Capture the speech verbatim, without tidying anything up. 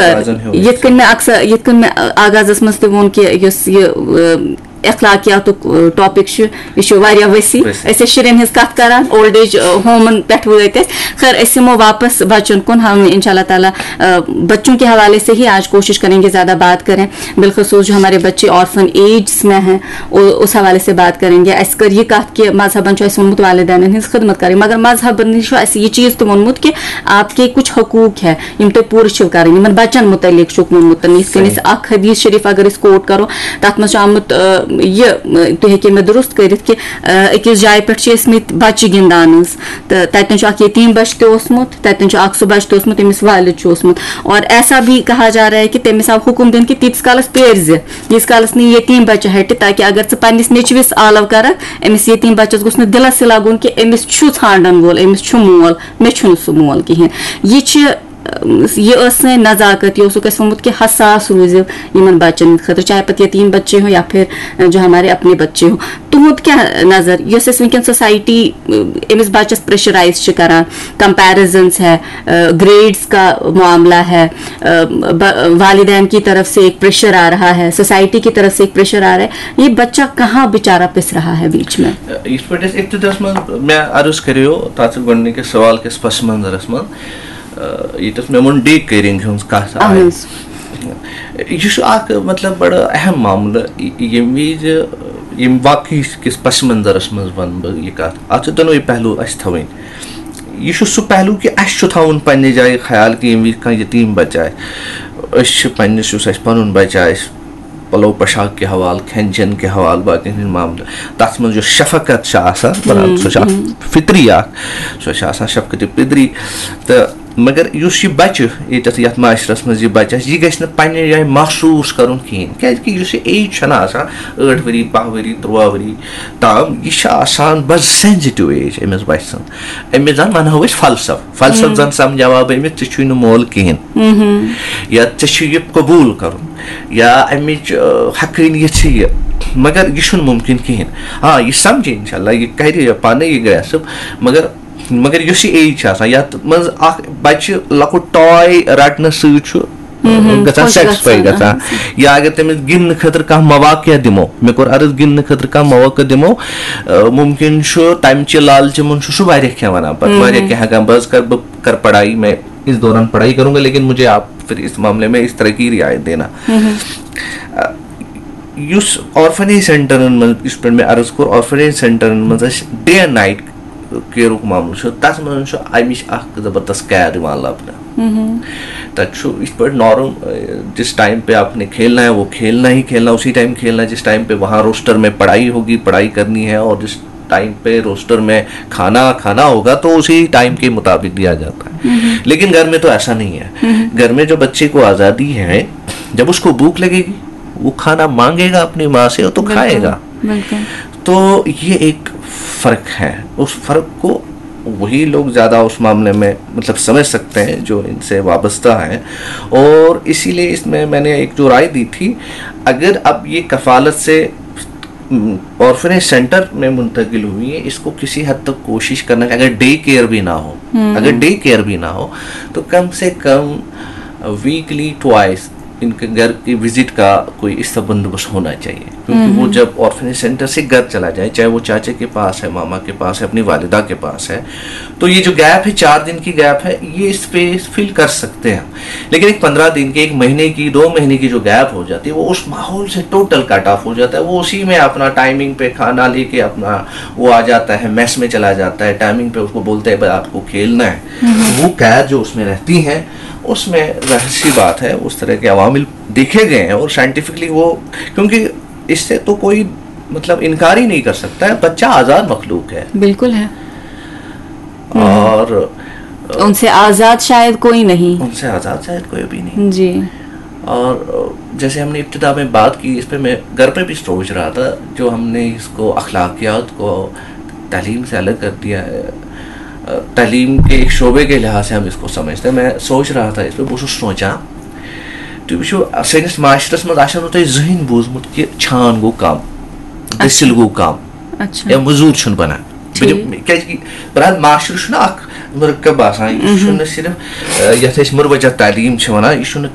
آغازن ہیوٚو یِتھ کٔنۍ مےٚ اکثر، یِتھ کٔنۍ مےٚ آغازس منٛز تہِ ووٚن کہِ یُس یہِ، اخلاقیاتُک ٹاپک چھُ، یہِ چھُ واریاہ وسیع۔ وسیع۔ أسۍ ٲسۍ شُرٮ۪ن ہٕنٛز کتھ کران اولڈ ایج ہومن پٮ۪ٹھ وٲتۍ أسۍ۔ خیر، أسۍ یِمو واپس بچن کُن، ہم انشاء اللہ تعالیٰ، بچوں کے حوالے سے ہی آج کوشش کریں گے زیادہ بات کریں۔ بالخصوص جو ہمارے بچے آرفن ایجز میں ہیں، اس حوالے سے بات کریں گے۔ اَسہِ کٔر یہِ کتھ کہِ مذہبن چھُ اَسہِ ووٚنمُت والدینن ہٕنٛز خدمت کرٕنۍ، مگر مذہبن نِش چھُ اَسہِ یہِ چیٖز تہِ ووٚنمُت کہِ آپ کے کچھ حقوق ہے، یِم تۄہہِ پوٗرٕ چھِو کرٕنۍ۔ یِمن بچن متعلق چھُکھ ووٚنمُت، یِتھ کٔنۍ أسۍ اکھ حدیث شریف اگر أسۍ کوٹ کرو، تتھ منٛز چھُ آمُت، آ، یہِ، آ، تُہۍ ہیٚکِو مےٚ درست کٔرِتھ کہِ، آ، أکِس جایہِ پٮ۪ٹھ چھِ ٲسمٕتۍ بچہِ گِنٛدان حظ، تہٕ تتٮ۪ن چھُ اکھ یتیٖم بچہِ تہِ اوسمُت، تتٮ۪ن چھُ اکھ سُہ بچہِ تہِ اوسمُت، ییٚمِس والد چھُ اوسمُت۔ اور ایسا بھی کہا جا رہا ہے کہ تٔمِس آو حُکُم دِنہٕ کہِ تیٖتِس کالس پیرزِ، ییٖتِس کالس نہٕ یہِ یتیٖم بچہِ ہٹہِ، تاکہِ اگر ژٕ پننِس نیٚچوِس آلو کرکھ، أمِس یتیٖم بچس گوٚژھ نہٕ دِلس یہِ لگُن کہِ أمِس چھُ ژھانڈن وول، أمِس چھُ مول، مےٚ چھُنہٕ سُہ مول کِہینۍ۔ یہِ چھِ، یہِ ٲس سٲنۍ نزاکت، یہِ اوسُکھ اَسہِ ووٚنمُت کہِ حساس روٗزِو یِمن بچن ہٕنٛدِ خٲطرٕ، چاہے پتہٕ یتیٖم بچے ہو یا پھر جو ہمارے اپنے بچے ہو۔ تُہُنٛد کیٛاہ نظر، یۄس اَسہِ وٕنکیٚن سوسایٹی، أمِس بچس پریشرائز چھِ کران، کمپیرزنس ہے، گریڈز کا معاملہ ہے، ب-، والدین کی طرف سے ایک پریشر آ رہا ہے، سوسائٹی کی طرف سے ایک پریشر آ رہا ہے، یہ بچہ کہاں بیچارہ پس رہا ہے بیچ میں؟ یِتھ پٲٹھۍ اَسہِ ابتداہَس منٛز مےٚ عرض کَریو تَتھ گۄڈٕنِکِس سوال کِس پس منظرَس منٛز، آ، ییٚتٮ۪تھ مےٚ ووٚن ڈے کیئرنگ ہٕنٛز کَتھ آیہِ۔ اہن حظ۔ یہِ چھُ اکھ، مطلب، بڑٕ اہم معاملہٕ، یہِ-، ییٚمہِ وِزِ، ییٚمہِ واقعہٕ کِس پس منظرَس منٛز وَنہٕ بہٕ یہِ کَتھ۔ اَتھ چھِ دۄنوَے پہلو اَسہِ تھاوٕنۍ۔ یہِ چھُ سُہ پہلو کہِ اَسہِ چھُ تھاوُن پننہِ جایہِ خیال کہِ ییٚمہِ وِزِ کانٛہہ یتیٖم بچہٕ آسہِ، أسۍ چھِ پننِس، یُس اَسہِ پنُن بچہٕ آسہِ، پلو پوشاک کہِ حوالہٕ، کھٮ۪ن چٮ۪ن کہِ حوالہٕ، باقین ہٕنٛدۍ معاملہٕ، تَتھ منٛز یۄس شفقت چھِ آسان، برابر، سۄ چھِ اکھ فطری اکھ، سۄ چھِ آسان شفقت فطری۔ تہٕ مگر یُس یہِ بچہٕ ییٚتٮ۪تھ، یَتھ معاشرس منٛز یہِ بچہٕ آسہِ، یہِ گژھِ نہٕ پننہِ جایہِ محسوٗس کرُن کِہینۍ، کیازِ کہِ یُس یہِ ایج چھَنہٕ آسان، ٲٹھ ؤری، باہ ؤری، تُرٛواہ ؤری تام، یہِ چھِ آسان بڑٕ سینسٹیو ایج أمِس بچہٕ سٕنٛز۔ أمِس زن ونہو أسۍ فلسفہٕ، فلسفہٕ زن سمجھاوا بہٕ أمِس، ژےٚ چھُے نہٕ مول کِہینۍ، یا ژےٚ چھُ یہِ قبوٗل کرُن، یا امِچ، آ، حقٲنیت چھِ یہِ۔ مگر یہِ چھُنہٕ مُمکِن کِہینۍ۔ آ، یہِ سمجھِ انشاءاللہ، یہِ کرِ پانے یہِ گریسپ، مگر، مگر یۄس یہِ ایج چھِ آسان، یتھ منٛز اکھ بچہِ لۄکُٹ ٹاے رٹنہٕ سۭتۍ چھُ گژھان، خۄش سیٹسفاے گژھان، گژھان۔ یا اگر تٔمِس گِنٛدنہٕ خٲطرٕ کانٛہہ مواقع دِمو، مےٚ کوٚر عرض، گِنٛدنہٕ خٲطرٕ کانٛہہ مواقع دِمو، آ، مُمکِن چھُ تمہِ چہِ لالچہِ منٛز چھُ سُہ واریاہ کینٛہہ ونان پتہٕ، واریاہ کینٛہہ ہٮ۪کان، بہٕ حظ کرٕ، بہٕ کرٕ پڑھائی، میں اس دوران پڑھائی کروں گا، لیکن مجھے آپ پھر اس معاملے میں اس طرح کی رعایت دینا۔ آ، یُس آرفنیج سینٹرن منٛز، یُس پٮ۪ٹھ مےٚ عرض کوٚر، آرفنیج سینٹرن منٛز اَسہِ ڈے اینڈ نایٹ کیئرُک معاملہٕ چھُ، تَتھ منٛز چھُ اَمِچ اَکھ زبردست کیئر یِوان لَبنہٕ۔ تَتہِ چھُ یِتھ پٲٹھۍ نارم، جس ٹائم پہ آپ نے کھیلنا ہے وہ کھیلنا ہی کھیلنا، اسی ٹائم کھیلنا ہے جس ٹائم پہ وہاں روسٹر میں پڑھائی ہوگی، پڑھائی کرنی ہے، اور جس ٹائم پہ روسٹر میں کھانا کھانا ہوگا تو اسی ٹائم کے مطابق دیا جاتا ہے۔ لیکن گھر میں تو ایسا نہیں ہے۔ گھر میں جو بچے کو آزادی ہے، جب اس کو بھوک لگے گی، وہ کھانا مانگے گا اپنی ماں سے تو کھائے گا۔ بالکل۔ تو یہ ایک فرق ہے، اس فرق کو وہی لوگ زیادہ اس معاملے میں، مطلب، سمجھ سکتے ہیں جو ان سے وابستہ ہیں۔ اور اسی لیے اس میں میں نے ایک جو رائے دی تھی، اگر اب یہ کفالت سے، م، آرفنیج سینٹر میں منتقل ہوئی ہیں، اس کو کسی حد تک کوشش کرنا کہ اگر ڈے کیئر بھی نہ ہو، اگر ڈے کیئر بھی نہ ہو تو کم سے کم ویکلی ٹوائس ان کے گھر کی وزٹ کا کوئی اس طرح بندوبست ہونا چاہیے، کیونکہ وہ جب آرفنیج سینٹر سے گھر چلا جائے، چاہے وہ چاچے کے پاس ہے، ماما کے پاس ہے، اپنی والدہ کے پاس ہے، تو یہ جو گیپ ہے، چار دن کی گیپ ہے، یہ اسپیس فل کر سکتے ہیں۔ لیکن ایک پندرہ دن کی، ایک مہینے کی، دو مہینے کی جو گیپ ہو جاتی ہے، وہ اس ماحول سے ٹوٹل کٹ آف ہو جاتا ہے۔ وہ اسی میں اپنا ٹائمنگ پہ کھانا لے کے اپنا وہ آ جاتا ہے، میس میں چلا جاتا ہے، ٹائمنگ پہ اس کو بولتے ہیں، "بھائی، آپ کو کھیلنا ہے۔" وہ قید جو اس میں رہتی ہیں، اس میں ظاہر سی بات ہے، اس طرح کے عوامل دیکھے گئے ہیں اور سائنٹیفکلی وہ، کیونکہ اس سے تو کوئی، مطلب، انکار ہی نہیں کر سکتا ہے، بچہ آزاد مخلوق ہے۔ بالکل ہے۔ اور ان سے آزاد شاید کوئی نہیں۔ ان سے آزاد شاید کوئی بھی نہیں۔ جی۔ اور جیسے ہم نے ابتدا میں بات کی، اس پہ میں گھر پہ بھی سوچ رہا تھا، جو ہم نے اس کو اخلاقیات کو تعلیم سے الگ کر دیا ہے، تعلیم کے ایک شعبے کے لحاظ سے ہم اس کو سمجھتے ہیں۔ میں سوچ رہا تھا اس پہ، بہٕ اوسُس سونٛچان، تُہۍ وٕچھِو، سٲنِس معاشرس منٛز آسیو نہٕ تۄہہِ زٕہٕنۍ بوٗزمُت کہِ چھان گوٚو کم، دٔسِل گوٚو کم، اچھا۔ یا مٔزوٗر چھُنہٕ بنان۔ بہٕ دِمہٕ، ٹھیٖک۔ کیازِ کہِ پرٛٮ۪تھ معاشرٕ چھُنہٕ اکھ مرکب آسان، یہِ چھُنہٕ صرف، آ، یتھ أسۍ مروجہ تعلیٖم چھِ ونان، یہِ چھُنہٕ